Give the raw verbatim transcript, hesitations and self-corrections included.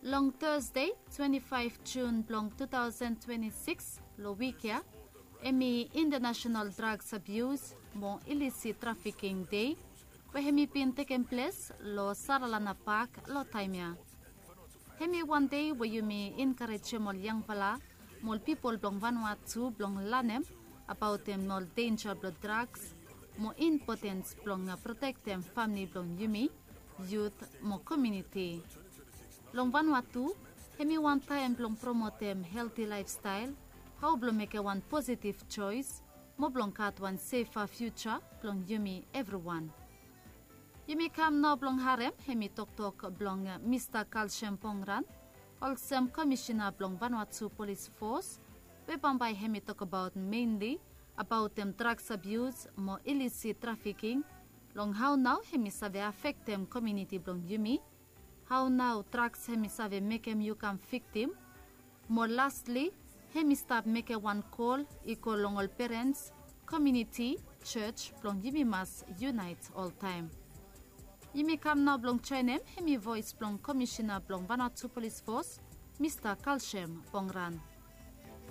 Long Thursday, twenty-five June blong two thousand twenty-six, lo wik ya, hemi International Drugs Abuse mo Illicit Trafficking Day, we hemi bin tekem ples lo Saralana Park lo taem ya. Hemi wan dei we yumi enkarejem ol yangfala mo ol pipol blong Vanuatu blong lanem abaotem ol denja blong drugs mo impotens blong protektem famili blong yumi, yut mo komuniti. Long Vanuatu, hemi wan taem blong promotem helti laefstael, hao blong mekem wan positif joes, mo blong gat wan sefa fiuja blong yumi evriwan. Yumi kam nao blong harem hemi toktok blong Mista Kalsem Pongran, olsem Komisina blong Vanuatu Polis Fos, we bambae hemi tokbaot menli abaotem drugs abuse mo illicit trafficking, long hao nao hemi save afektem komuniti blong yumi, hao nao drugs hemi save mekem yu kam viktim, mo lastli, hemi stap mekem wan kol i go long ol perens, komuniti, jos blong yumi mas yunaet oltaem. Yumi kam nao blong joenem hemi voes blong Komisina blong Vanuatu Polis Fos, Mista Kalsem Pongran.